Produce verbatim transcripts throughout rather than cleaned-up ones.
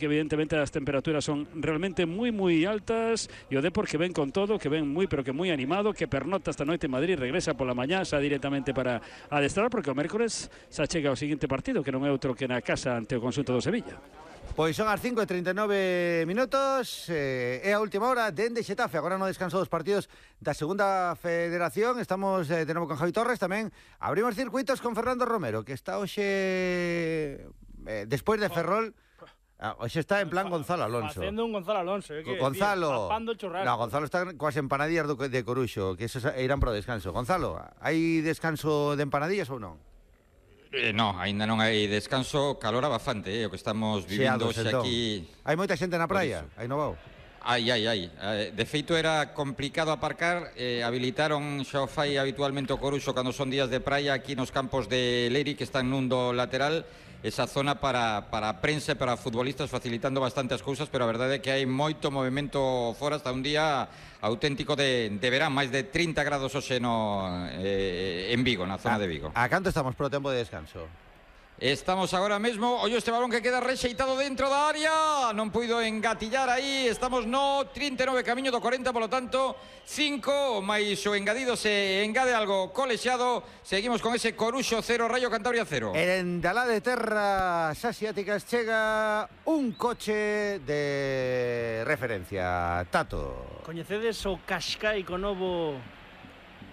que evidentemente as temperaturas son realmente moi moi altas e o Depor que ven con todo, que ven moi pero que moi animado, que pernota esta noite en Madrid, regresa pola mañá xa directamente para adestrar, porque o mércores xa chega o seguinte partido, que non é outro que na casa ante o conxunto do Sevilla. Pois son as cinco e trinta e nove minutos, eh, é a última hora dende Xetafe, agora no descanso dos partidos da segunda federación. Estamos eh, de novo con Javi Torres, tamén abrimos circuitos con Fernando Romero, que está hoxe eh, despois de Ferrol. Ah, hoxe está en plan Gonzalo Alonso. Facendo un Gonzalo Alonso. Eh, que, Gonzalo. Papando churrasco. No, Gonzalo está coas empanadillas do, de Coruxo, que esos irán pro descanso. Gonzalo, hai descanso de empanadillas ou non? Eh, no, aínda non hai descanso, calor bastante, eh, o que estamos vivindo hoxe entón. Aquí. Hai moita xente na praia, hai novao. Ai, ai, ai. De feito era complicado aparcar, eh, habilitaron xa o fai habitualmente o Coruxo cando son días de praia aquí nos campos de Leri, que están nun do lateral, esa zona para, para a prensa e para futbolistas, facilitando bastante as cousas, pero a verdade é que hai moito movimento fora, hasta un día auténtico de, de verán, máis de trinta grados hoxe no, eh, en Vigo, na zona a, de Vigo. A canto estamos pro tempo de descanso? Estamos agora mesmo, ollo este balón que queda rexeitado dentro da área, non puido engatillar aí, estamos no trinta e nove camiño do corenta, polo tanto cinco, máis o engadido se engade algo colexiado. Seguimos con ese Coruxo cero, Rayo Cantabria cero. En Dalá de Terras Asiáticas chega un coche de referencia, Tato. Coñecedes o Qashqai con novo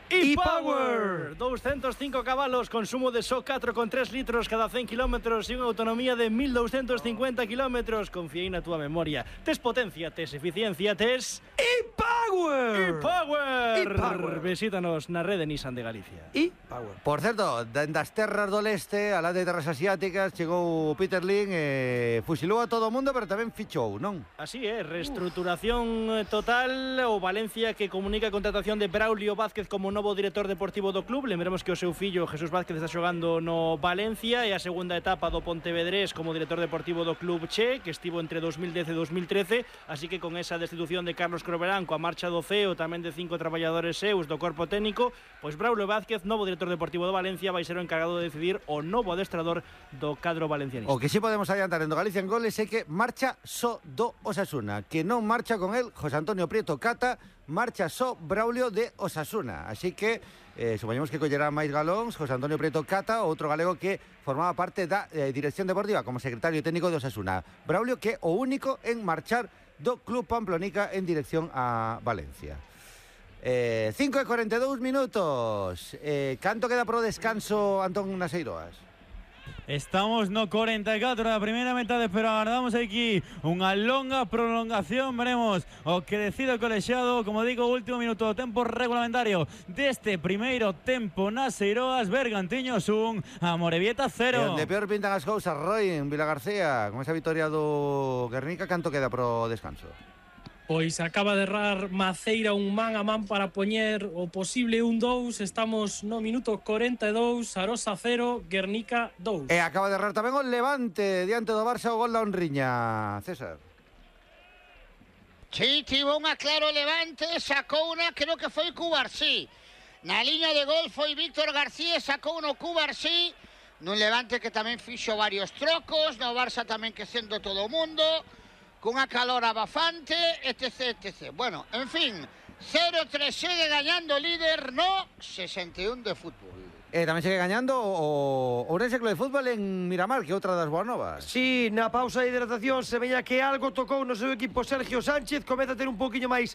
e-Power, doscientos cinco cabalos, consumo de só catro coma tres litros cada cen kilómetros e unha autonomía de mil doscientos cincuenta kilómetros. Confiei na túa memoria. Tes potencia, tes eficiencia, tes e-Power. e-Power. e-Power. Visítanos na rede Nissan de Galicia. e-Power. Por certo, das terras do leste, a la de terras asiáticas, chegou Peter Lim e fusilou a todo o mundo, pero tamén fichou, non? Así é, reestruturación total. O Valencia que comunica a contratación de Braulio Vázquez como novo director deportivo do club. Lembremos que o seu fillo Jesús Vázquez está xogando no Valencia e a segunda etapa do Pontevedrés como director deportivo do club Che, que estivo entre dos mil dez e dos mil trece, así que con esa destitución de Carlos Croverán, coa marcha do C E O, tamén de cinco traballadores seus do corpo técnico, pois Braulio Vázquez, novo director deportivo do Valencia, vai ser o encargado de decidir o novo adestrador do cadro valencianista. O que sí podemos adiantar en do Galicia en Goles é que marcha só do Osasuna, que non marcha con el José Antonio Prieto Cata, marcha só Braulio de Osasuna. Así que eh, supoñemos que collerá máis galóns José Antonio Prieto Cata, outro galego que formaba parte da eh, dirección deportiva como secretario técnico de Osasuna. Braulio que é o único en marchar do Club Pamplonica en dirección a Valencia. Eh, cinco e cuarenta e dous minutos. Eh, canto queda pro descanso, Antón Naseiroas? Estamos no corenta e catro da primeira metade, pero agardamos aquí unha longa prolongación. Veremos o que decide o colexiado. Como digo, último minuto do tempo reglamentario deste primeiro tempo nas Eiroas. Bergantiños un, Amorebieta cero. E onde peor pintan as cousas, Roy, en Vila García, con esa vitoria do Guernica, canto queda pro descanso? Pois acaba de errar Maceira un man a man para poñer o posible un dous. Estamos no minuto corenta e dous, Arosa cero, Guernica dous. E acaba de errar tamén o Levante diante do Barça, o gol da Honriña. César. Sí, tivo unha claro Levante, sacou unha, creo que foi Cubarsí. Na liña de gol foi Víctor García, sacou no Cubarsí. Nun Levante que tamén fixo varios trocos, no Barça tamén que sendo todo o mundo, cunha calor abafante, etc, etcétera. Bueno, en fin, cero tres segue gañando o líder no sesenta e un de fútbol. E tamén segue gañando o Ourense Club de Fútbol en Miramar, que é outra das boas novas. Sí, na pausa de hidratación se veía que algo tocou no seu equipo Sergio Sánchez, comeza a ter un pouquiño máis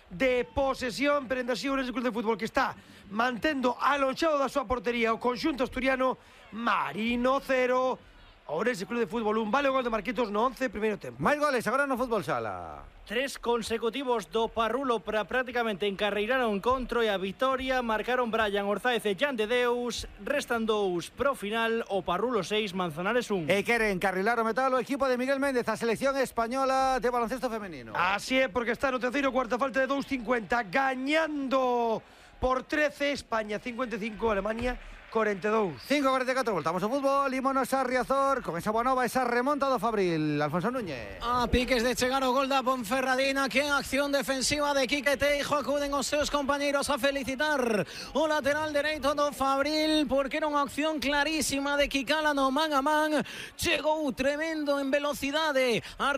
de posesión, pero ainda así o Ourense Club de Fútbol que está mantendo alonxado da súa portería o conxunto asturiano. Marino cero, Ourense Club de Fútbol un, vale o gol de Marquitos no once, primeiro tempo. Máis goles agora no fútbol sala. Tres consecutivos do Parrulo para prácticamente encarreiraron o encontro e a vitoria. Marcaron Brian Orzáez e Jan de Deus. Restan dous pro final, o Parrulo seis, Manzanares un. E quere encarrilar o metal o equipo de Miguel Méndez, a selección española de baloncesto femenino. Así é, porque está no terceiro cuarto, falta de dos cincuenta, gañando por trece, España cincuenta e cinco, Alemania cuarenta y dos. cinco cuarenta y cuatro, voltamos ao fútbol. Ímonos a Riazor con esa boa nova, esa remonta do Fabril. Alfonso Núñez. A piques de chegar o gol da Ponferradina, que acción defensiva de Quique Teijo, acuden os seus compañeiros a felicitar o lateral dereito do Fabril, porque era unha acción clarísima de Kikala no man a man. Chegou tremendo en velocidade a